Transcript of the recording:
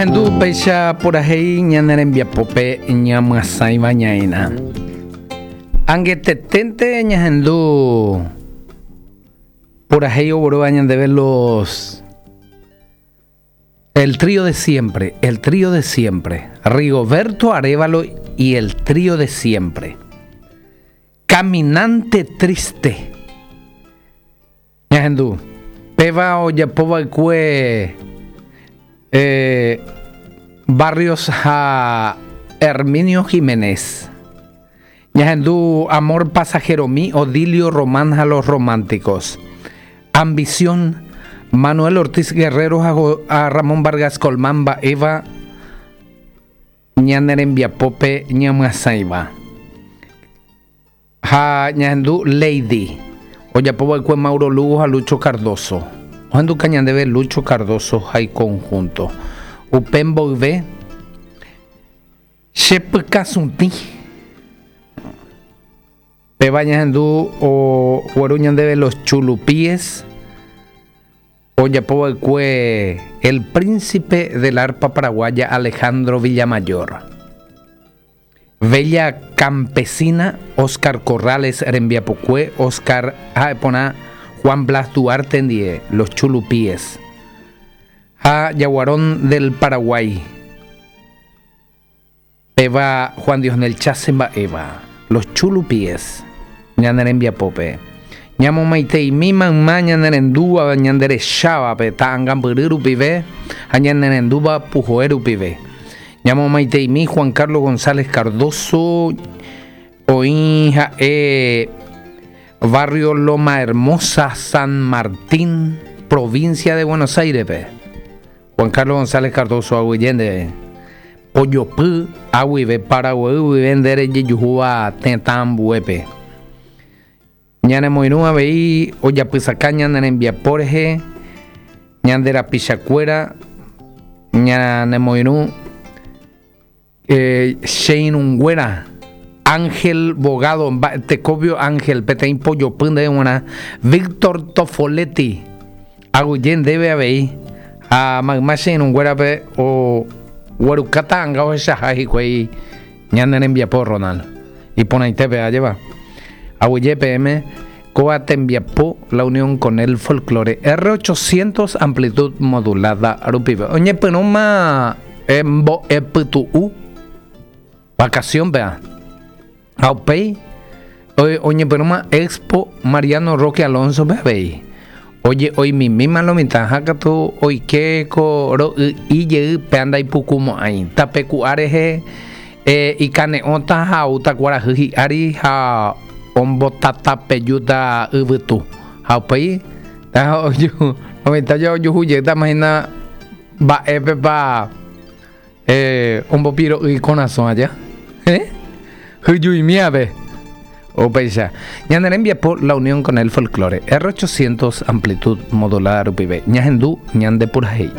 Ñahendu upéicha purahéi ñane rembiapópe ñamyasãiva ñaĩna. Angeteténte ñahendu purahéi oguerúva ñandéve los El trío de siempre, el trío de siempre. Rigoberto Arévalo y el trío de siempre. Caminante triste. Ñahendu, péva ojapo va'ekue Barrios ha Herminio Giménez. Ñahendu Amor pasajeromi Odilio Román ha Los Románticos. Ambición, Manuel Ortiz Guerrero ha Ramón Vargas Colmán mba'éva ñane rembiapópe ñamyasãiva. Ha ñahendu Lady, ojapo va'ekue Mauro Lugo ha Lucho Cardozo. Ohenduka ñandéve Lucho Cardozo ha iconjunto. Upe mboyve, che pykasutĩ. Péva ñahendu ogueru ñandéve Los Chulupíes, ojapo va'ekue el príncipe del arpa paraguaya Alejandro Villamayor. Bella Campesina, Oscar Corrales rembiapokue, Oscar ha'eporã Juan Blas Duarte ndie, Los Chulupíes ha Jaguarón del Paraguay, péva Juan Diosnel Chase mba'éva, Los Chulupíes, ñane rembiapópe. Ñamomaiteimi mayma ñanerendúva ñanderechávape ta'angambyry rupive ha ñanerendúva puhoe rupive. Ñamomaiteimi Juan Carlos González Cardozo, oĩ ha'e barrio Loma Hermosa, San Martín, provincia de Buenos Aires-pe. Juan Carlos González Cardozo aguyje ndéve. Pojopy aguive Paraguay guive nde rejejuhúva tetã ambuépe. Ñanemoirũ avei ojapysaka ñane rembiapo rehe, ñande rapichakuéra ñanemoirũ che irũnguéra, Ángel Bogado, Mba'etekóvio Ángel, peteĩ pojopy ndéve g̃uarã, Víctor Tofoletti, aguyje ndéve avei, ha mayma che irũnguérape ogueruka ta'anga ohechaha hikuái Ñane rembiapo, Ronald. Iporãitépe, ajépa. Aguyje peẽme, kóva tembiapo La Unión con el Folklore R800 amplitud modulada rupive. Oñepyrũma mbo'epytu'u vacación-pea. Ha upéi oñepyrũma Expo Mariano Roque Alonso-pe avei. Oje'oimimíma lo mitã ha katu oike ko ro'y'i jey péa ndaipukumo'ãi. Tape ku'a rehe ikane'õta ha oúta kuarahy hi'ári ha ombotatapejúta yvytu. Ha upéi lo mitã ojuhu jeýtama hína mba'épepa Ombopiro'y ikorasõ aja. Hyjuimi ave. Upéicha. Ñane rembiapo La Unión con el Folklore. R800 amplitud modulada rupive. Ñahendu ñande purahéi.